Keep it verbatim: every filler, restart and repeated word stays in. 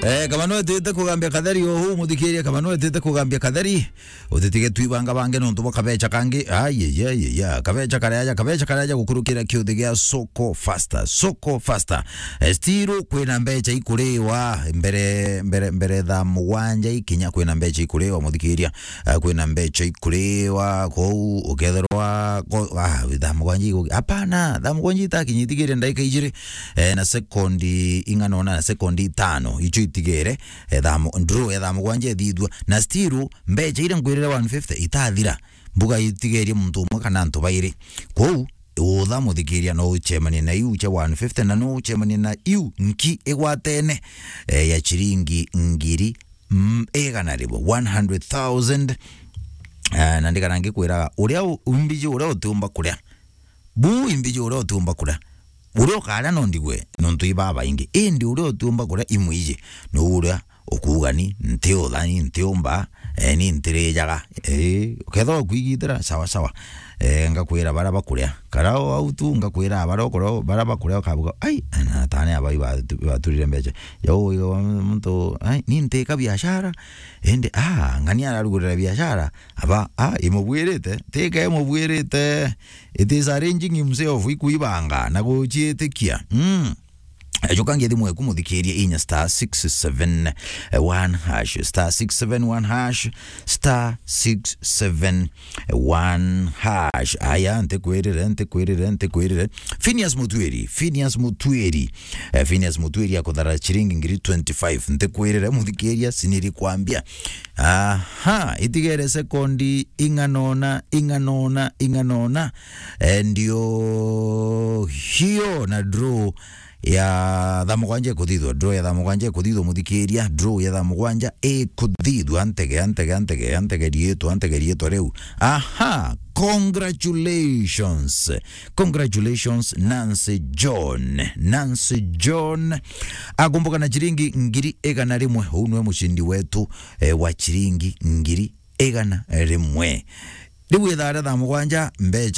Eh, kaba nwetite kugambia katheri o huu, muthikiria, kaba nwetite kugambia katheri, utitige twibanga bange nontu bwa kabecha kangi. Ai, ai, ai, ai, ai. Kabecha karia aja, kabecha karia aja gukurukira kiuthi gia Soko Faster. Soko Faster. Eh, still kwina mbecha ikuriwa mbere, mbere, mbere thaa mugwanja ikinya kwina mbecha ikuriwa, muthikiria. Eh, kwina mbecha ikuriwa, kou ukethirwa, ko-, ah, thaa mugwanja igu-, hapana, thaa mugwanja itakinya, itigiire ndagika ijiri, eh, na sekondi ing'ana ona, na sekondi itano, icio itigiire, eh, thaa mu-, draw ya thaa mugwanja ithithua, na still, mbecha iria ngwirire one fifty itathira, mbuga itigerie muntu umwe kana antu bairi. Kou, utha muthikiria, no uchemanie na iu cia one fifty, na no uchemanie na iu nki igwatene, eh, ya chiringi ngiri, mm, igana rimwe, one hundred thousand. Eh, na ndigana ngikwiraga, uria u-, imbiji uria utiumba kuria. Bu imbiji uria utiumba kuria. Uria ukaria no ndigwe, nontu i babaingi. Indi uria utiumba kuria imwiji, ni uria ukuuga ni ntiutha, ni ntiumba, eh, ni ntirijaga. Eh, ukethirwa ukwigitira, sawa, sawa. Eh, ngakwira baria bakuria. Kara o au tu, ngakwira baria ukuria, baria bakuria ukabuga, "Ai, na tani aba ibatu-, ibaturire mbecha." Jau iga muntu, "Ai, ni ntika biashara." Indi, ah, ng'ani ararugurira biashara. Aba, ah, imubwirite, tika imubwirite. It is arranging himself, ikuibanga na guciitikia. Mm. Ejuka ngithi mweku muthikirie inya star six seven one hash, star six seven one hash, star six seven one hash. Aya, ntikwirire, ntikwirire, ntikwirire. Phineas Mutwiri, Phineas Mutwiri. Eh, Phineas Mutwiri akuthara chiringi ngiri twenty-five. Ntikwirire, muthikiria, siniri kwambia. Aha, itigere sekondi ing'anona, ing'anona, ing'anona. Eh, ndio hiyo na draw ya thaa mugwanja ikuthithwa, draw ya thaa mugwanja ikuthithwa, muthikiria, draw ya thaa mugwanja ikuthithwa, antege, antege, antege, antege riitwa, antege riitwa riu. Aha, congratulations. Congratulations, Nancy John. Nancy John akumbuka na chiringi ngiri igana rimwe. Uu niwe mucindi wetu, eh, wa chiringi ngiri igana rimwe. Riu ithaa ria thaa mugwanja, mbecha